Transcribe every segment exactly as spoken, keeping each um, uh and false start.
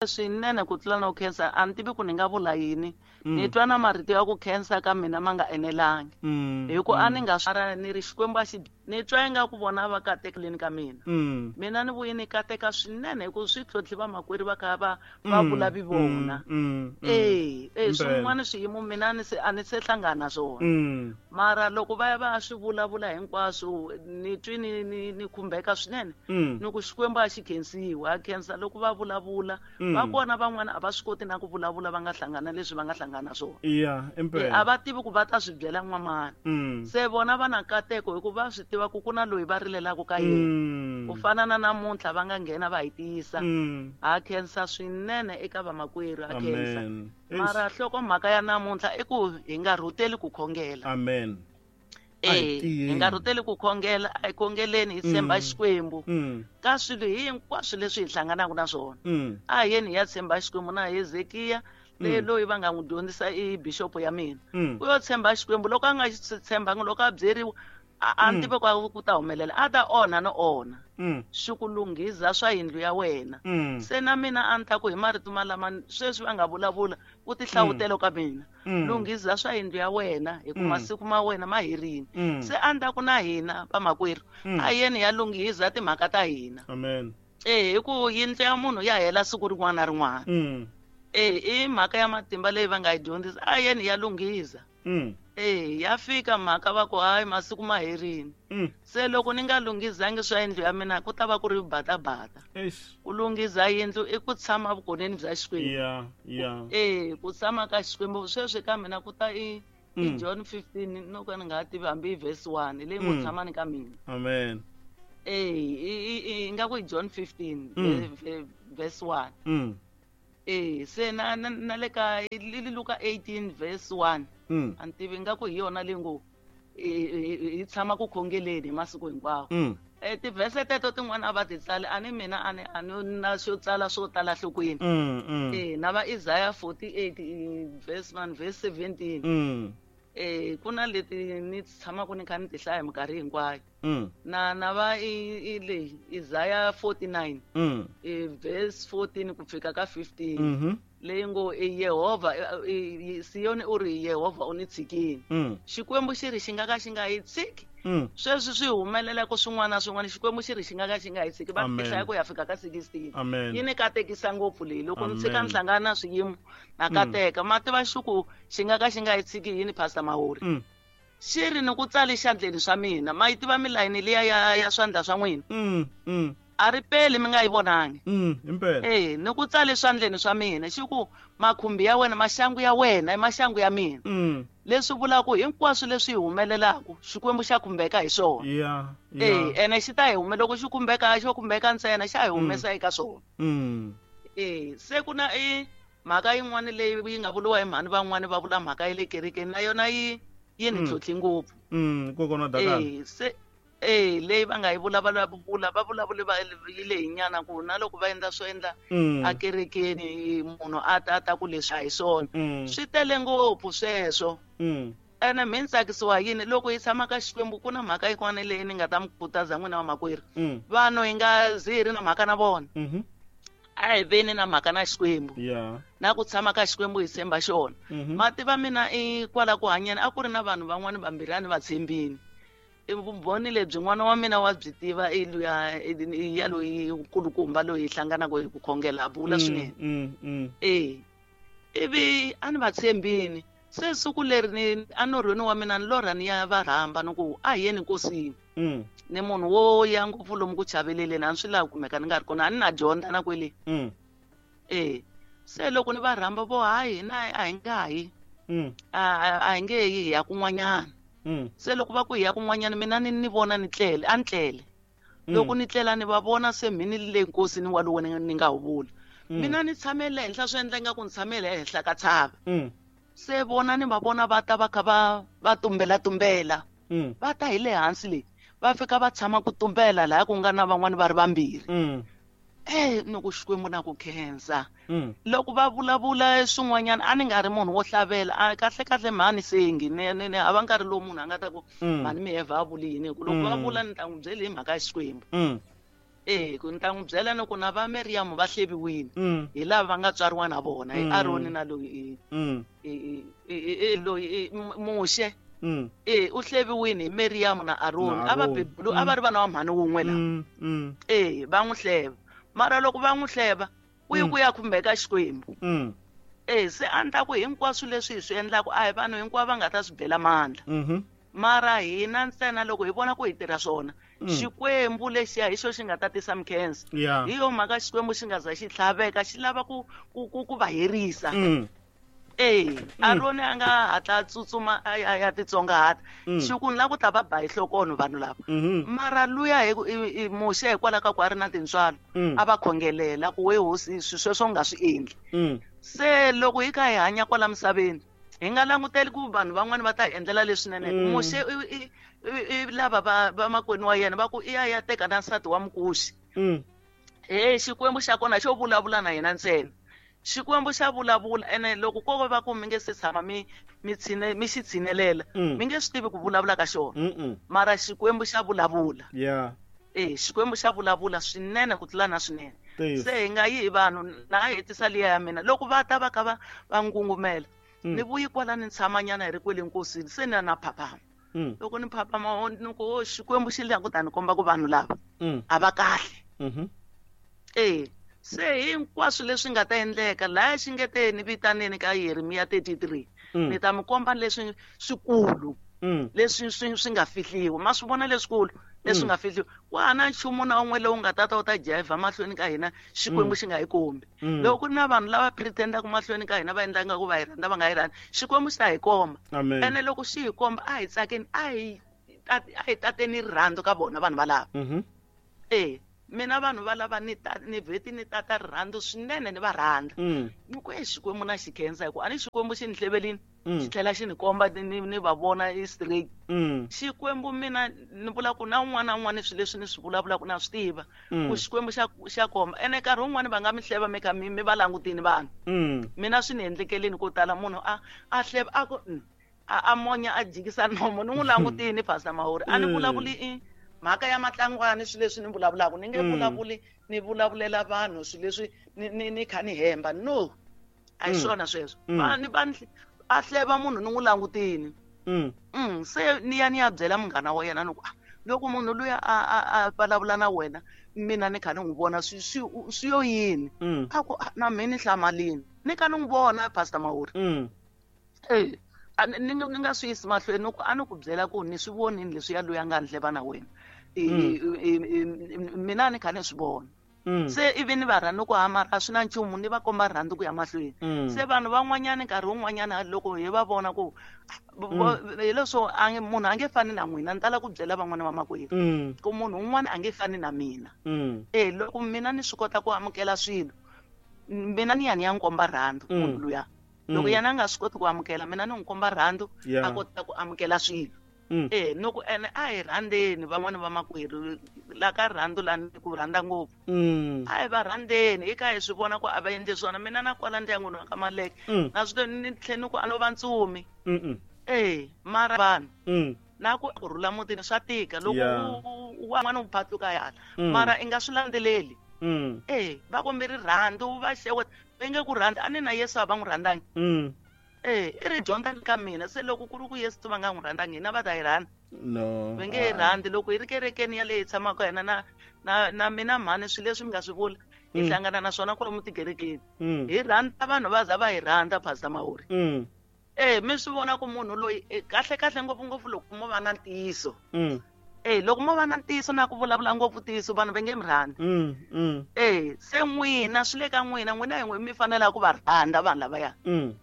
Swinene ku tlula no khensa a ni tivi ku ni nga vula yini. Ni twa na marito ya ku khensa ka mina ma nga enelangi. Hi ku a ni nga swi ni ri Xikwembu a xi ni twa ingaku vona va katekeleni ka mina. Mina ni vuye ni kateka swinene hi ku swi tlhontlhi vamakwerhu va kha va va vula vi vona. E e swin'wana swiyimo mina ni se a ni se hlangana na swona. Mara loko va ya va ya swi vulavula hinkwaswo ni twi ni ni ni khumbeka swinene. Ni ku Xikwembu a xi khensiwi, a khensa loko va vulavula. Va kona van'wana a va swi koti na ku vulavula va nga hlangana leswi va nga hlangana na swona. Yeah, impela. A va tivi ku va ta swi byela n'wamani. Se vona va na nkateko hi ku va swi tiva ku ku na loyi va rilelaka ka yena. Ku fana na namuntlha va nga nghena va hi tiyisa. Ha khensa swinene eka vamakwerhu, ha khensa. Mara nhlokomhaka ya namuntlha i ku hi nga rhuteli ku khongela. Amen. Eh, hi nga rhuteli ku khongela, a hi khongeleni hi tshemba Xikwembu. Ka swilo hinkwaswo leswi hi hlanganaka na swona. A hi yeni hi ya tshemba Xikwembu na Hezekiya leyi loyi va nga n'wi dyondzisa i bishop ya mina. U yo tshemba Xikwembu loko a nga xi tshembangi loko a byeriwa a ni tivi ku ku ta humelela a ta onha no onha. Swi ku lunghiza swa yindlu ya wena. Se na mina a ni ta ku hi marito malama sweswi va nga vulavula ku tihlawutelo ka mina. Lunghiza swa yindlu ya wena hi ku masiku ma wena ma herile. Se a ni ta ku na hina vamakwerhu a yeni ya lunghiza timhaka ta hina. Amen. Eh hi ku yindlu ya munhu ya hela siku rin'wana na rin'wana. Eh i mhaka ya matimba leyi va nga yi dyondzisa a yeni ya lunghiza. Eh ya fika mhaka va ku hayi masiku ma herile. Se loko ni nga lunghizangi swa yindlu ya mina ku ta va ku ri batabata. Ku lunghiza yindlu i ku tshama vukoneni bya Xikwembu. Yeah, yeah. Eh ku tshama ka Xikwembu sweswi ka mina ku ta i i John fifteen no ka ni nga tivi hambi i verse one leyi ngo tshamani ka mina. Amen. Eh i nga ku i John fifteen verse one. Eh se na na le ka Luka eighteen verse one. A ni tivi nga ku hi yona leyi ngo hi tshama ku khongeleni hi masiku hinkwawo. Eh tivhese teto tin'wana a va ti tsali a ni mina a ni a ni na swo tsala swo tala nhlokweni. Eh na va Isaiah forty-eight verse one verse seventeen. Eh ku na leti ni tshamaka ni kha ni ti hlaya minkarhi hinkwayo. Na na va i leyi Isaiah forty-nine eh verse fourteen ku fika ka fifteen. Leyi ngo i Yehovha Siyoni u ri Yehovha u ni tshikile. Xikwembu xi ri xi nga ka xi nga yi tshiki. Sweswi swi humelela ku swin'wana na swin'wana Xikwembu xi ri xi nga ka xi nga yi tshiki va hlaya ku ya fika ka sixteen. Yi ni katekisa ngopfu leyi loko ni tshika ni hlangana na swiyimo na kateka ma tiva xiku xi nga ka xi nga yi tshiki yini Pastor Mahori. Xi ri ni ku tsali xandleni swa mina ma yi tiva milayini liya ya ya swandla swa n'wina. A ri peli mi nga yi vonangi. Impela. Eh ni ku tsale swandleni swa mina xi ku makhumbi ya wena maxangu ya wena i maxangu ya mina. Leswi vulaka hinkwaswo leswi hi humelelaka Xikwembu xa khumbeka hi swona. Yeah, yeah. Eh ene xi ta hi hume loko xi khumbeka xo khumbeka ntsena xa hi humesa eka swona. Eh se ku na i mhaka yin'wana leyi yi nga vuriwa hi mhani van'wani va vula mhaka ya le kerekeni na yona yi yi ni tlhontlhi ngopfu. Kokwana Dakala. Eh se eh leyi va nga yi vula va vula va vulavule va yi leyi nyana ku na loko va endla swo endla a kerekeni munhu a ta ta ku leswi a hi swona. Swi tele ngopfu sweswo. Ene mi tsakisiwa yini loko hi tshama ka Xikwembu ku na mhaka yin'wana leyi ni nga ta mi khutaza n'wina vamakwerhu. Vanhu hi nga zi hi ri na mhaka na vona. A hi veni na mhaka na Xikwembu. Na ku tshama ka Xikwembu hi tshemba xona. Ma tiva mina i kwala ku hanyeni a ku ri na vanhu van'wana vambirhi a ni va tshembini. Vumbhoni lebyi n'wana wa mina wa byi tiva i luya ya loyi nkulukumba loyi hi hlanganaka hi ku khongela a bula swinene. Eh ivi a ni va tshembini se siku leri ni anorhweni wa mina ni lorha ni ya va rhamba ni ku a hi yeni nkosini. Ni munhu wo ya ngopfu lomu ku chaveleleni a ni swi lavi kumeka ni nga ri kona a ni na dyondza na kwele. Eh se loko ni va rhamba vo hayi hina a hi nga yi. A a hi nge yi hi ya kun'wanyana. Se loko va ku hi ya kun'wanyana mina ni ni vona ni tlele a ni tlele. Loko ni tlela ni va vona se mhini le nkosini walowo ni ni nga wu vula. Mina ni tshamele henhla swi endla ingaku ni tshamele ehenhla ka tshava. Se vona ni va vona va ta va kha va va tumbela tumbela. Va ta hi le hansi le va fika va tshama ku tumbela laha ku nga na van'wani va ri vambirhi. Eh ni ku Xikwembu na ku khensa. Loko va vulavula swin'wanyana a ni nga ri munhu wo hlavela a kahle kahle mhani sengi ni ni ni hava nkarhi lowu munhu a nga ta ku mhani mi heva a vuli yini hi ku loko va vula ni ta n'wi byela hi mhaka ya Xikwembu. Eh ku ni ta n'wi byela ni ku na va Miriam va hleviwile Mm. hi lava va nga tswariwa na vona hi Mm. Aroni na loyi Mm. i loyi Muxe Mm. eh u hleviwile hi Miriam na Aroni Na a va Aroni. bebulu a va ri vana va mhani wun'we la Mm. Mm. eh va n'wi hleva mara loko va n'wi hleva u yi Mm. ku ya khumbeka Xikwembu Mm. eh se a ni ta ku hinkwaswo leswi hi swi endlaku a hi vanhu hinkwavo va nga ta swi bela mandla Mhm. mara hina ntsena loko hi vona ku hi tirha swona Mm. Xikwembu lexiya hi xo xi nga ta tisa mikhensa Yeah. hi yo mhaka Xikwembu xi nga za xi tlhaveka xi lava ku ku ku ku va herisa Mm. eh Aroni a nga hatla a tsutsuma a ya ya titsongahata Mm. xi ku ni lava ku ta va ba hi nhlokono vanhu lava Mhm. mara luya hi ku- i- i- Muxe hikwalaho ka ku a ri na tintswalo Mm. a va khongelela ku we hosi swi sweswo u nga swi endli Mm. se loko hi kha hi hanya kwala misaveni hi nga languteli ku vanhu van'wani va ta hi endlela leswinene Mm. Muxe i i i- i lava va vamakwenu wa yena va ku i ya ya teka na nsati wa Mukuxi Mm. he Xikwembu xa kona xo vulavula na yena ntsena Xikwembu xa vulavula ene loko ko va ku mi nge se tshama mi mi tshine mi xi tshinelela Mm. mi nge swi tivi ku vulavula ka xona Mm. mara Xikwembu xa vulavula Yeah. eh Xikwembu xa vulavula swinene ku tlula na swinene Ntiyiso. se hi nga yi hi vanhu na hetisa liya ya mina loko va ta va kha va va ngungumela Mm. ni vuyi kwala ni tshamanyana hi ri kwele nkosini se ni ya na phaphama Mm. loko ni phaphama o- ni ku o Xikwembu xi le ku ta ni komba ku vanhu lava Mm. a va kahle Mhm. eh se hinkwaswo leswi nga ta endleka laya xi nge te ni vitaneni ka Yeremiya thirty-three Mm. ni ta mi komba leswi swikulu Mm. leswi swi swi nga fihliwa ma swi vona leswikulu leswi Mm. nga fihliwa ku hana nchumu na wun'we lowu nga ta ta wu ta jiva mahlweni ka hina Xikwembu Mm. xi nga hi kombi Mm. loko ku ri na vanhu lava pretendaka mahlweni ka hina va endla nga ku va hi rhandza va nga hi rhandzi Xikwembu xi ta hi komba Amen. ene loko xi hi komba a hi tsakeni a hi a hi tateni rirhandzu ka vona vanhu valava Mhm. eh mina vanhu valava ni ta ni vheti ni tata rirhandzu swinene ni va rhandza Mm. ni ku e Xikwembu na xi khensa hi ku a ni Xikwembu xi ni hlevelini Mm. xi tlhela xi ni komba ni ni va vona i straight Mm. Xikwembu mina ni vula ku na un'wana na un'wana swilo leswi ni swi vulavulaka na swi tiva Mm. ku Xikwembu xa xa komba ene nkarhi wun'wani va nga mi hleva mi kha mi mi va langutini vanhu Mm. mina swi ni endlekeleni ko tala munhu a a hleva a ku mm, a a monya a jikisa nomo ni n'wi langutini Pastor Mahori a ni Mm. vulavuli i mhaka ya matlangwani swilo leswi ni vulavulaka ni nge Mm. vulavuli ni vulavulela vanhu swilo leswi ni ni ni kha ni hemba no a hi Mm. swona sweswo Mm. va ni va ni a hleva munhu ni n'wi langutini Mm. mm se ni ya ni ya byela munghana wa yena ni ku ah, loko munhu luya a a a vulavula na wena mina ni kha ni n'wi vona swi swi swi yo yini Mm. a ku ah, na mina ni hlamalini ni kha ni n'wi vona Pastor Mahori Mm. eh a ni ni ni nga swi yisi mahlweni ni ku a ni ku byela ku ni swi vonini leswi ya loyi a nga ni hleva na wena I- Mm. i- i- i- mina ni kha ni swi vona Mm. se ivi ni va rhandza ku hamara a swi na nchumu ni va komba rhandzu ku ya mahlweni Mm. se vanhu van'wanyana nkarhi wun'wanyana loko hi va vona ku vo- hi leswo a nge munhu a nge fani na n'wina ni tala ku byela van'wana va makwerhu Mm. ku munhu un'wana a nge fani na mina Mm. eh loko mina ni swi kota ku amukela swilo mina ni ya ni ya n'wi komba rhandzu Mm. munhu luya loko Mm. yena a nga swi koti ku amukela mina ni n'wi komba rhandzu Yeah. a kota ku amukela swilo Mm. eh ni ku ene a hi rhandzeni van'wana va makwerhu la ka rhandzu la ni ku rhandza ngopfu Mm. a hi va rhandzeni hi kha hi swi vona ku a va endli swona mina na kwala ndyangwini wa ka Maleke Mm. na swi ni tlhe ni ku a no va ntsumi Mm. eh mara vanhu Mm. na ku ku rhula mutini swa tika loko Yeah. u- u wan'wana u phatluka yala Mm. mara i nga swi landzeleli Mm. eh va kombe rirhandzu va xeweta va nge ku rhandza a ni na Yesu a va n'wi rhandzangi Mm. eh i ri dyondza ni ka mina se loko ku ri ku Yesu va nga n'wi rhandzangi hina va ta yi rhandza No. va nge yi rhandzi loko hi ri kerekeni yaleyi hi tshamaka hina na na na mina mhani swilo leswi mi nga swi vula hi Mm. hlangana na swona kwalomu tikerekeni Mm. hi rhandza vanhu va za va hi rhandza Pastor Mahori Mm. eh mi swi vona ku munhu loyi eh, kahle kahle ngopfungopfu loko mo va na ntiyiso Mm. eh loko mo va na ntiyiso na ku vulavula ngopfu ntiyiso vanhu va nge mi rhandzi Mm. Mm. eh se n'wina swi le ka n'wina n'wina hi n'we mi fanelaka ku va rhandza vanhu lavaya Mm.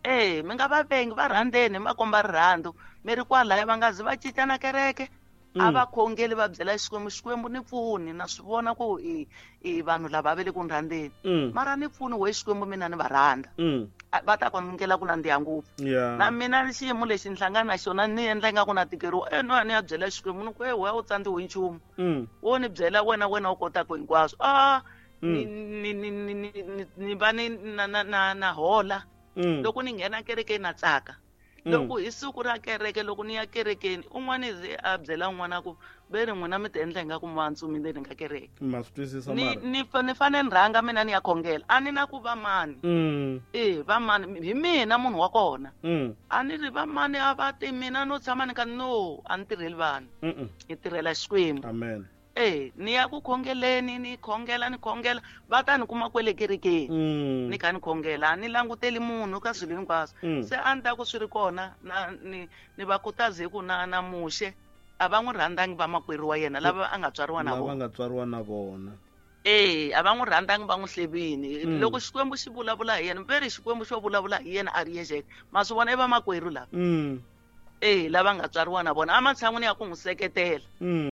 eh mi nga va vengi va rhandzeni mi va komba rirhandzu mi ri kwalaya va nga zi va cinca na kereke a Mm. va khongeli va byela Xikwembu Xikwembu ni pfuni na swi vona ku i i vanhu lava va le ku ni rhandzeni Mm. mara ni pfuni we Xikwembu mina ni va rhandza Mm. A- va ta kwamukela ku nandziha ngopfu Yeah. na mina xiyimo lexi ni hlangana na xona ni endla ingaku na tikeriwa e no ni ya byela Xikwembu ni ku e wehe u tsandziwe hi nchumu Mm. wo ni byela wena wena u kotaka hinkwaswo a ni Mm. ni ni ni ni ni va ni na na na na hola Mm. loko ni nghena kerekeni na tsaka Loko hi siku ra kereke, loko ni ya kerekeni, un'wana ze a byela un'wana ku ve ri n'wina mi ti endla ingaku mantsumi le ni nga kereke. Ma swi twisisa Ni mara. ni fa- ni fanele ni rhanga mina ni ya khongela. A ni na ku va mani. Mm. Eh, va mani hi mina munhu wa kona. Mm. A ni ri va mani a va ti mina no tshama ni ka no, a ni tirheli vanhu. Mm. Ni tirhela Xikwembu. Amen. Eh, ni ya ku khongeleni, ni khongela, ni khongela, va ta ni kuma kwele kerekeni. Mm. Ni kha ni khongela, a ni languteli munhu ka swilo hinkwaswo. Mm. Se a ni ta ku swi ri kona na ni ni va khutaze ku na na Muxe a va n'wi rhandzangi vamakwerhu wa yena lava a nga tswariwa na Lava vona. nga tswariwa na vona. Eh, a va n'wi rhandzangi va n'wi hlevini. Mm. Loko Xikwembu xi vulavula hi yena, ve ri Xikwembu xo vulavula hi yena a ri yexe. Ma swi vona i vamakwerhu lava. Mm. Eh, lava nga tswariwa na vona ematshan'wini ya ku n'wi seketela. Mm.